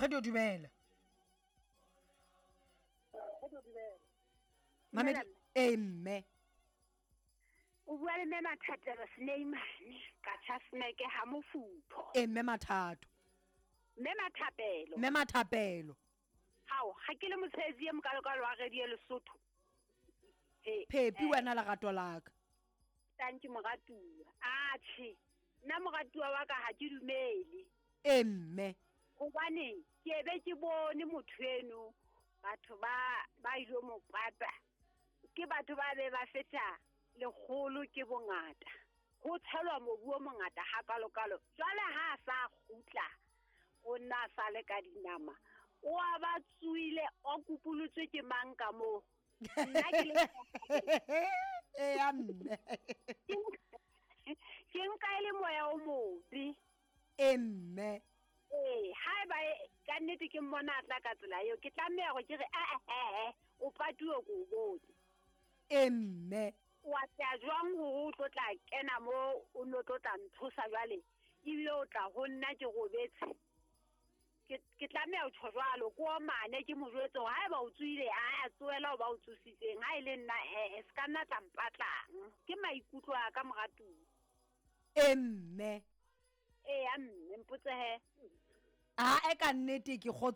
Radio dumela. Mamedi ee mme. O bua le mme Mathatelo Sneimane ka Chasmeke ha Mofutho. Ee mme Mathato. Mme Mathapelo. Mme Mathapelo. Hao, ga ke le motshehetsi e mokalokalo wa Radio Lesotho. He, Phepi wena lerato la ka. Thank you moratuwa. Atjhe, nna moratuwa wa ka ha ke dumele. Ee mme. Hobane ke be ke bone motho eno batho ba ba ilo mo pata. Ke batho ba be ba feta lekgolo ke bongata. Ho tshelwa mobu o mongata hakalokalo. Jwale ha a sa kgutla o nna a sa le ka dinama. O a ba tsoile o kupolotswe ke mang ka moo? Nna ke le Eya mme. Ke nka e le moya o mobe. Ee mme. Ee, haeba ka nnete ke mmona a tla ka tsela eo, ke tlameha hore ke re ee, o patuwe ko o bone. Ee mme. Wa tla jwang hore o tlo tla kena mo o no tlo tla nthosa jwale, ebile o tla ho nna ke robetse. Ke tlameha ho tjho jwalo, ko omane ke mo jwetse hore haeba o tsohile, a tsohela ho ba o tsositseng. Ha e le nna ee, se ka nna tla mpatlang. Ke maikutlo a ka moratuwa. Ee mme. Eya mme, mpotse he. Ae ka nnete ke kgotso.